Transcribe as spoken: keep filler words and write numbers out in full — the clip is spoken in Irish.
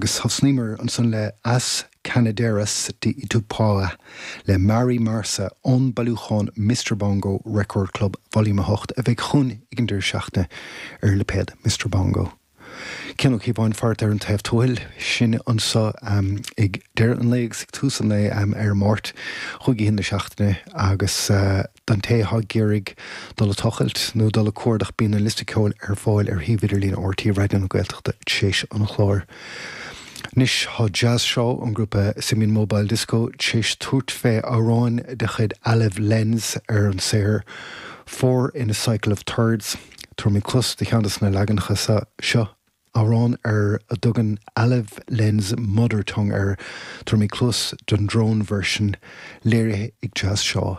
Agus thosnaíomar ansan le As Canadeiras de Itapuã le Mari Marsa ón bailiúchán Mr Bongo Record Club Volume a hocht a bheidh chugainn ag an deireadh seachtaine ar lipéad Mr Bongo. Cian Ó Cíobháin fart ar an taobh tuathail sin anseo um, ag deireadh an lae agus ag tús an lae um, ar Máirt chuig na seachtaine agus uh, don té atá ag iarraidh dul ag tochailt nó dul ag cuardach bíonn an liosta ceoil ar fáil ar shuíomh idirlín R T É Raidió na Gaeltachta théis an chláir. Anois tá Jazz Shaw an grúpa Simian Mobile Disco théis tabhairt fé amhrán de chuid Alive Lens ar an saothar Four in a Cycle of Thirds. Tabharfaimid cluas do cheann de na leaganacha seo amhrán ar a dtugann Alive Lens Mother Tongue air tabharfaimid cluas don drone version léirithe ag Jazz Shaw.